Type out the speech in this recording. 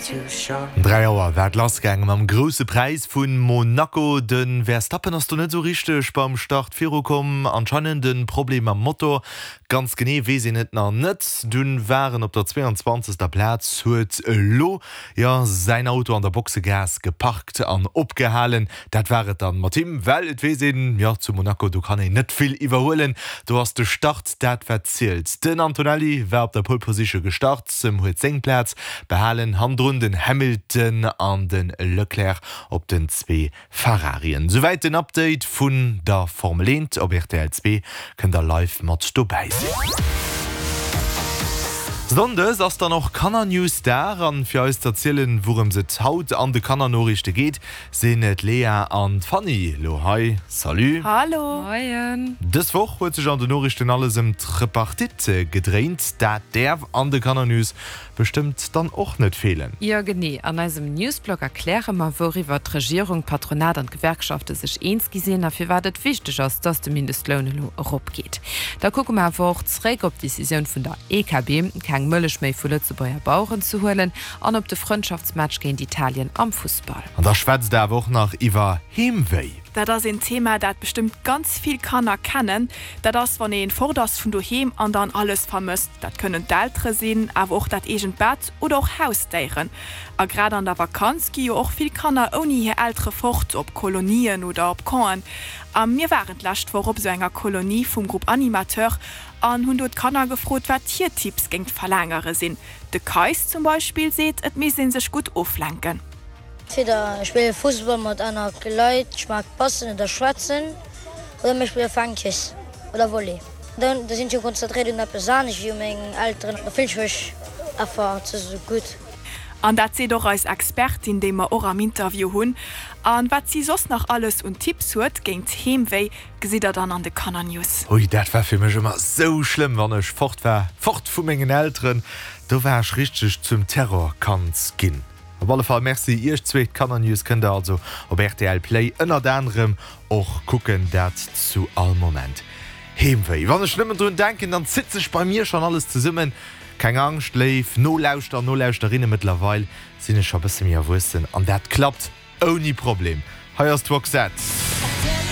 3 Auer war et lassgaange mam Grousse Präis vu Monaco. De Verstappen ass do net esou richteg beim Start virukomm. Anscheinend e Problem mam Motor. Ganz genee weess een et nach net. Dunn war en op der 22. Plaz, huet elo jo säin Auto an der Boxegaass geparkt an opgehalen. Dat war et dann mat him, well et weess een, jo zu Monaco do kann een net vill iwwerhuelen, do ass de Start dat wat zielt. Den Antonelli war op der Pole Position gestart, huet seng Plaz behalen, hannendrun den Hamilton an de Leclerc op den zwee Ferrarien. Souwäit den Update vun der Formel 1. Op rtl 2 kënnt der live mat dobäi sinn. Sonndes ass dann och Kannernews-Dag an fir eis z'erzielen wourëms et haut an de Kannernoriichte geet, sinn d'Lea an d'Fanny lo hei. Salut! Hallo! Moien! Dës Woch huet sech an den Noriichten alles ëm d'Repartite gedréint. Dat däerf an de Kannernews bestëmmt dann och net feelen. Jo genee, an eisem Newsblog erkläre mer, wouriwwer d'Regierung, d'Patronat an d'Gewerkschafte sech eens gi sinn a firwat et wichteg ass, dass de Mindestloun elo eropgeet. Da kucke mer awer och zeréck op d'Decisioun vun der EKB, keng Mëllech méi vu Lëtzebuerger Baueren ze huelen an op de Frëndschaftsmatch géint Italien am Fussball. An da schwätzt der awer och nach iwwer Heemwéi. Dat ass een Thema, dat bestëmmt ganz vill Kanner kennen. Dat ass, wann ee fort ass vun doheem an dann alles vermësst. Dat kënnen d'Eltere sinn, awer och dat eegent Bett oder och Hausdéieren. A grad an der Vakanz gi jo och vill Kanner ouni hir Eltere fort, op Kolonien oder op Campen. A mir waren d'lescht Woch op esou enger Kolonie vum Groupe Animateur an hunn do d'Kanner gefrot, wat hir Tipps géingt d'Verlaangere sinn. De Kais zum Beispill seet, et misst ee sech gutt oflenken. Entweder ech spille Fussball mat aner Leit, ech mag passen oder schwätzen, oder mir spille Fänkjes oder Volley. Dann da sinn ech jo konzentréiert un eppes anescht wéi u meng Elteren, da fillen ech mech einfach ze sou gutt. An dat seet och eis Expertin, déi mer och am Interview hunn. A wat si soss nach alles un Tipps huet géint Heemwéi, gesitt der dann an de Kannernews. Hui, dat war fir mech ëmmer sou schlëmm, wann ech fort war, fort vu mengen Elteren, do war ech richteg zum Terrorkand ginn. Op alle Fall Merci iech zweek. D'Kannernews kënnt der also op rtl Play ënnert anerem och kucken, dat zu all Moment. Heemwéi, wann ech nëmmen drun denken, dann zitt sech bei mir schonn alles zesummen. Keng Angscht, léif Nolauschterer an Nolauschterinnen, mëttlerweil sinn ech scho bësse méi erwuessen an dat klappt ouni Problem. Hei ass d'Roxette.